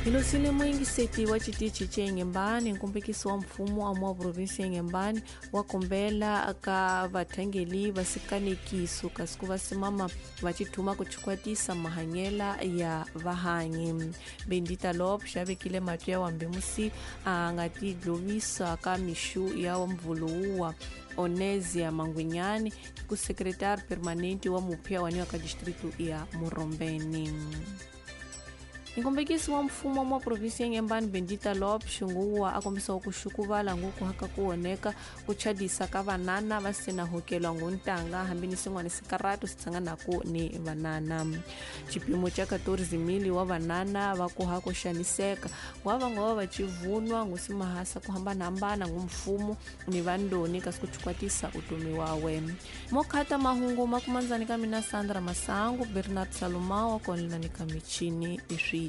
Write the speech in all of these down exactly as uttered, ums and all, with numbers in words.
Hilosile muingiseti wa xitichi xa Inhembane, nkombekiso wa mfumo wa mwa provinsi ya Inhembane wa kombela ka vathangeli va sikanekiso kasi ku va simama va xithuma ku chikwatisa mahanyela ya vahanyi. Bendita Lopes xa vekile matwi ya wambemusi a nga ti dlovisa ka mixu ya mvuluwa Onesia Mangwinyani ku secretary permanente wa mupya wa ka distrito ya Murombeni. Nkombekisi wa mfumo wa provinsi ya Inhembane Bendita Lopes nguwa a kombisa ku xukuvala nguku haka ku oneka ku chadisa ka vanana va sena hokelwa nguntanga hambi ni sin'wana sikaratu sitsanganako ni vanana. Xipimo xa quatorze mil wa vanana va ku ha ku xaniseka wa va nga va chivunwa ngusimahasa ku hambanahambana ngu mfumo ni vandoni kasi ku chikwatisa utomi wawe. Mokhata mahungu makumanzani ka mina Sandra Masangu, Bernard Salomao konlana ni kamichini iswi.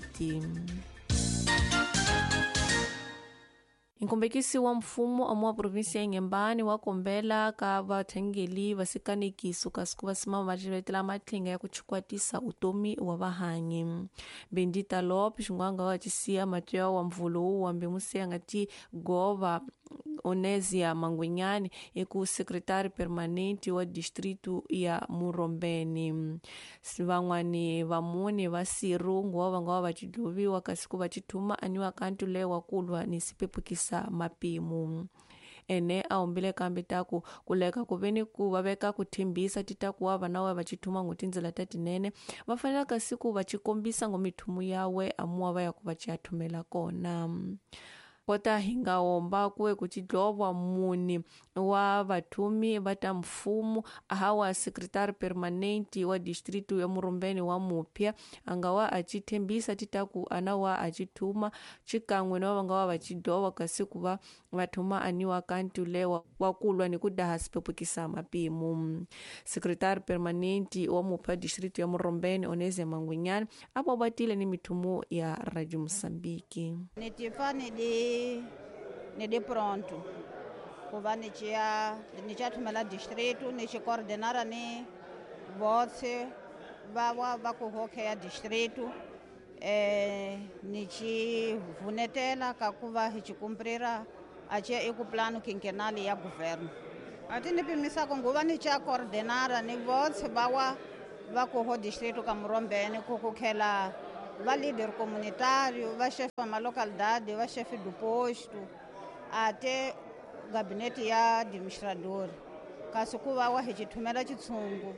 Nkombekisi wa mfumo wa provinsi ya Inhembane wa kombela ka vathangeli va sikanekiso kasi ku va simama va xivetela matlinga ya ku chikwatisa utomi wa vahanyi. Bendita Lopes ngwanga wa tisiya matwi wa mvuluwu wa mbemusi nga ti gova Onesia Mangwinyani eku secretary permanente wa distrito ya Murombeni. Van'wani va mune va sirungu wa vanga va xidloviwa kasi ku va xithuma aniwa kantu lewa kulwa ni sipepukisa mapimu. Ene a hombile kambe taku kuleka ku veni ku va veka ku thembisa titaku wa vana wa va xithuma ngo tindzela ta tinene va fanele kasi ku va xikombisa ngo mithumu yawe amuwa va ya ku va xiyathumela kona. Kota hinga homba kuwe kuchidlovwa muni wa vathumi va ta mfumo hawa secretary permanente wa distrito ya Murombeni wa Mupya anga wa a chithembisa titaku ana wa a chithuma chikan'we na va nga wa va chidlowa kasi ku va vathuma aniwa kantu lewa wa kulwa ni ku daha sipepukisa mapimu. Secretary permanente wa Mupya distrito ya Murombeni Onesia Mangwinyani a bobatile ni mithumo ya Radio Mozambique. Nitifani di ni de pronto ku va ni ciya ni ciya thumela distrito ni xi coordenara ni votse va wa va ku hoke ya distrito eh ni ci vunetela ka ku va hi xi kumprira a ciya eku plano quinquenal ya governo a ti ni pimisa ku nguva ni ciya coordenara ni votse va wa va ku ho distrito ka Murombeni ku ku khela va líder comunitário, va chefe ma localidade, va chefe do posto, até gabinete ya administrador. Kasi ku va wa hi xithumela xitshungu,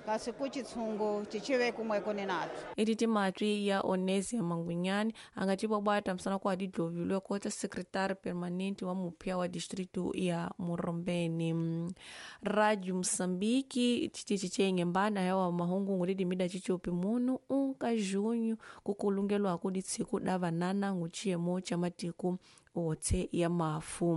kasi ku xitshungu xi chive kumwe ku ni nato. Editi matwi ya Onesia Mangwinyani a nga tibwabwata msana ku adidlovilwe kota secretary permanente wa mupya wa distrito ya Murombeni. Radio Mozambique xitichi xa Inhembane ya wa mahungu ngulidimida chichopi munu unka junho kukulungelwa ku ditsiku da vanana nguchiyemo cha matiku otse ya mafu.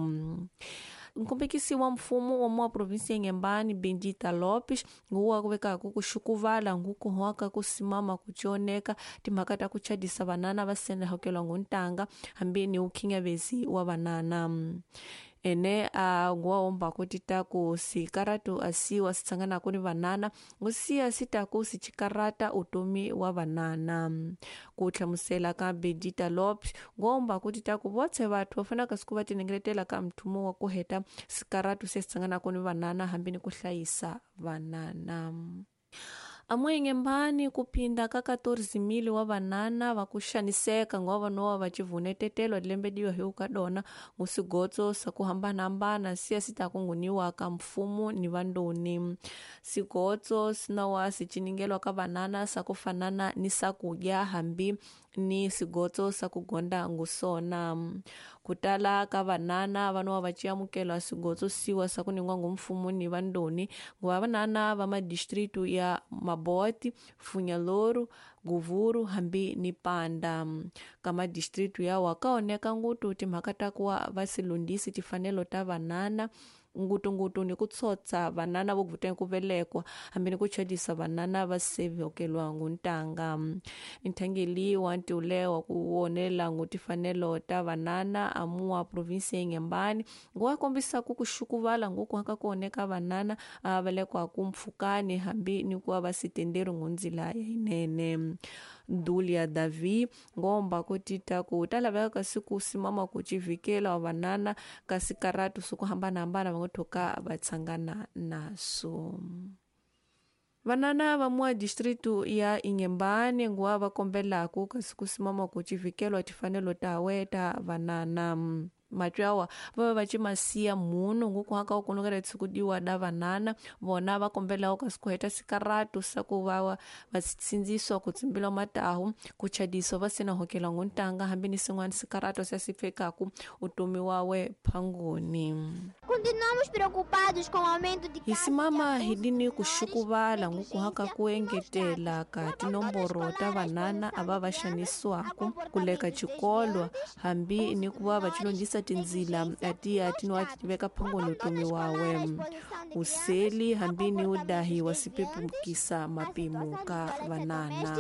Nkombekisi wa mfumo wa mwa provinsi ya Inhembane Bendita Lopes nguwa kuveka ku xukuvala nguku hwaka ku simama ku choneka timhaka ta ku chadisa vanana va sena hokelwa nguntanga hambi ni ukhinyavezi wa vanana. Ene a nguwa homba ku titaku sikaratu asiwa sitsangana ku ni vanana ngusiya sitaku sichikarata utomi wa vanana. Ku hlamusela ka Bendita Lopes ngomba ku titaku votse vathu va fanaka siku va tinengeletela ka mthumo wa ku heta sikaratu se sitsangana ku ni vanana hambi ni ku hlayisa vanana. Amwe Inhembane kupinda ka quatorze mil wa vanana va ku xaniseka ngova no va chivunetetelo lembediwa hi ka dona ngusigotso sa ku hambanahambana siya sita ku nguniwa ka mfumo ni vandoni. Sigotso sinawa sichiningelwa ka vanana sa ku fanana ni sa kudya hambi ni sigotso sa ku gonda ngusona. Kutala ka vanana vanowa va chiamukela sigotso siwa sa ku ningwa ngumfumo ni vandoni ngova vanana va madistrito ya Maboti, Funhalouro, Govuro, hambi ni Panda. Kama distrito ya wakaoneka ngutu timhaka ta ku va silundisi tifanelo ta vanana ngutungutu ni ku tsotsa vanana vo guteng ku velekwa hambi ni ku chadisa vanana va sevokelwa nguntanga. Nthangeli wa ntiulewa ku wonela ngutifanelo ta vanana amuwa provinsi ya Inhembane nguwa kombisa ku kuxukuvala nguku haka ku oneka vanana a velekwa ku mpfhukani hambi ni ku va sitenderi ngundzila ya yinene. Dulia Davi ngomba kutita ku talaveka kasi ku simama ku civikela wa vanana kasi karatu suku hambana-hambana vangothoka vatsangana naso. Vanana va mua distrito ya Inhambane nguva va kombelaku kasi ku simama ku civikelwa tifanelo tawe ta vanana. Matwawa va va cimasiya munhu ngukuhaka u kunukela tshukudiwa da vanana vona va kombelaku kasi ku heta sikaratu sa ku va va sindziswa ku tsimbilwa matahu ku chadiswa va sina hokela nguntanga hambi ni sin'wana sikaratu se si fikaku utomi wawe phangoni. Continuamos preocupados com o aumento de hi simama hi dini ku xukuvala ngukuhaka ku engetela ka tinomboro ta vanana a va va xanisiwaku ku leka xikolo hambi ni ku va va chilondzisa tindzila atiya tinowa veka phangoni utomi wawe useli hambi ni udahi wa sipepukisa mapimo ka vanana,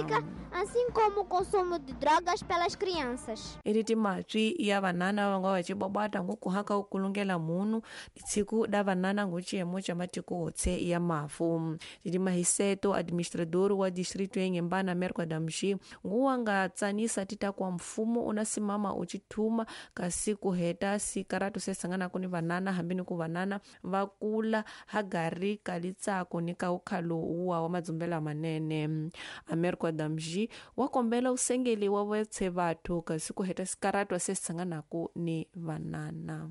assim como o consumo de drogas pelas crianças. Iri timatswi ya vanana va nga va cibabata ngukuhaka u kulungela munhu tsiku da vanana nguciyemo ca matiko otse ya mafu. Tidi mahiseto administrador wa distrito ya Inhambane Merco Adamji nguwa nga tsanisa tita kwa mfumo unasimama uchithuma kasi ku heta sikaratu se sangana kuni vanana hambi ni ku vanana va kula hagari ka litsako ni ka ukhalo uwa wa madzumbela manene. Americo Adamji wa kombela usengeli wa vetse vathu kasi ku heta sikaratu se sanganaku ni vanana.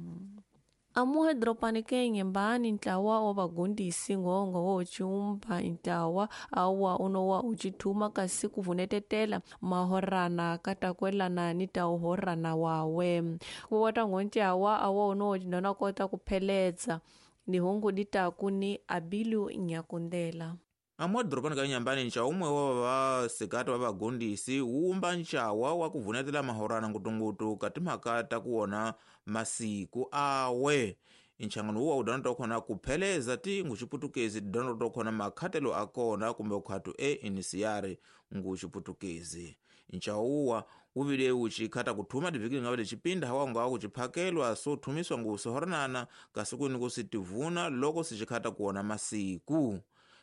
Amuhe dropani ke Inhambane ntlawa wa vagundisi ngongo wo ciumba ntawa awa unowa ucithuma kasi ku vunetetela mahorana katakwelana ni tauhorana wawe kuwata ngontyawa awa unowo cinona kota kupheledza ni hungu ditaku ni abilu nyakundela. Amuhe dropani ka Inhambane nca umwe wa vasekati va vagundisi wumba ncawa wa kuvunetela mahorana ngutungutu ka timhaka ta kuwona masiku awe. Nchangano wuwa udana tokhona kupheleza ti nguxiputukezi tidana tokhona makhatelo akona kumbe ukhatu e inisiari nguxiputukezi. Nchawuwa wuvile uchikhata kuthuma tivhiki ngavele cipinda hawa ngawa kuciphakelwa so thumiswa ngusohoranana kasi kuni kusitivuna loko sicikhata kuwona masiku.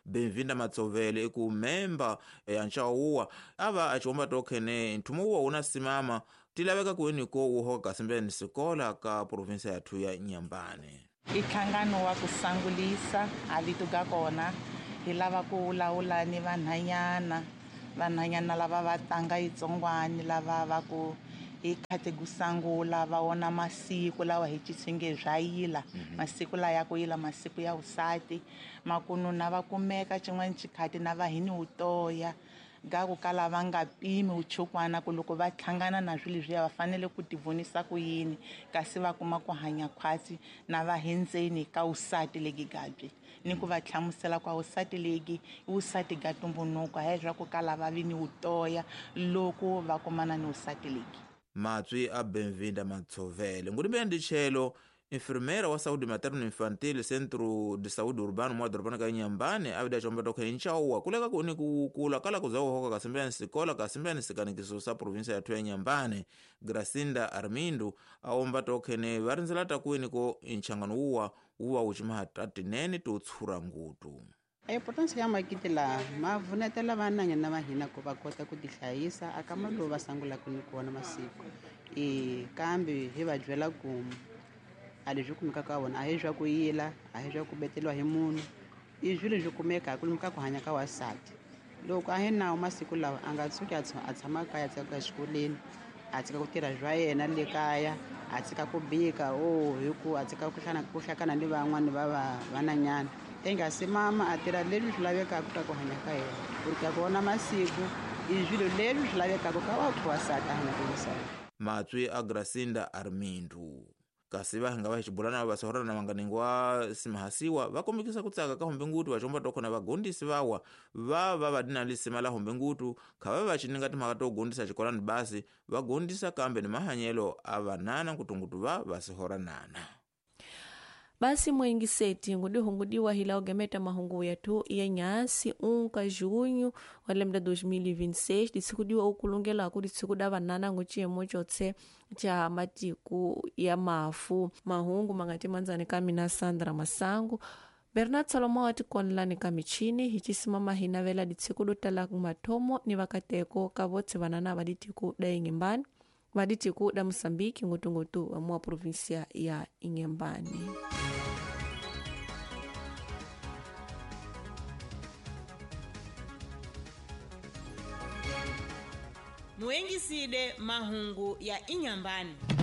Benvinda Matsovele iku memba ya nchawuwa ava aciwomba tokhene nthumo wuwa una simama tilaveka kueniko wuhoka kasimbeni sikola ka provinsia yathu ya Inhambane. I nhlangano wa ku sangulisa a vito ga kona hi lava ku wulawula ni vanhanyana vanhanyana lava va tanga yitsongwani lava va ku hi khate ku sangula va wona masiku lawa hi citsinge bya yila masiku laya ku yila masiku ya usati makunu na va kumeka xin'wana xikhati na va hi ni utoya ga ku kala va nga pimi uchukwana ku loko va hlangana na swilo leswiya va fanele ku tivonisa ku yini kasi va kuma ku hanya khwatsi na va hindzeni ka usati legi gabye ni ku va hlamusela kwa usati legi usati ga tumbunuko hi swa ku kala va vi ni utoya loko va kumana ni usati legi. Matswi a Benvinda Matsovele ngulimbe ndichelo enfermeira wa saúde materno infantil Centro de Saúde Urbano mwa dropana ka Inhambane avida chomba tokhe nchauwa kuleka kuni kukula kala kuzawo hoka kasimbeni sikola kasimbeni sikanikiso sa provinsia yathu ya Inhambane. Gracinda Armindo aomba tokhene varinzela takuini ko nchangano uwa uwa uchimaha tinene tutshura ngutu. A importância ya makiti laha ma vunetela vananyana va hina ku va kota ku tihlayisa aka lowu va sangulaka ni ku vona masiku e kambe hi va byela ku a leswi kumekaka ka vona a hi swa ku yila a hi swa ku beteriwa hi munhu i swilo leswi kumekaka lomu ka ku hanya ka wasati loko a hi nawu masiku lawa a nga tshuki a tshama kaya a tsika ku ya xikolweni a tshika ku tirha swa yena le kaya a tshika ku bika o hi ku a tshika ku hlana ku hlakana ni van'wani va va vananyana engasi mama a tirha leswi swi lavekaka ka ku hanya ka yena ku ri ka ku vona masiku i swilo leswi swi lavekaka ka wa ku wasati a hanya ku misava. Matswi a Gracinda Armindo kasi va nga va xibulana va sahorana vanganingwa simahasiwa va kombekisa ku tsaka ka hombengutu va xomba tokhona vagondisi vawa va va va dina lisima la hombengutu khava va xininga timhaka to gondisa xikolani basi va gondisa kambe ni mahanyelo a vanana kutungutu va va sihoranana. Basi mwengiseti ngudi hungudiwa hila ogemeta mahungu yatu ya nyasi unka junho wa lemda dois mil e vinte e seis disikudiwa ukulungela kuri tsikuda vanana nguchiyemo chotse cha matiku ya mafu mahungu mangati manzani kamina Sandra Masango. Bernard Salomão wa tikonlani ka michini hi cisimama hi navela ditshiku do tala mathomo ni vakateko ka votse vanana va ditiko da Inhambane va ditiko da Moçambique ngutungutu va mua província ya Inhambane. Muengiside mahungu ya Inhambane.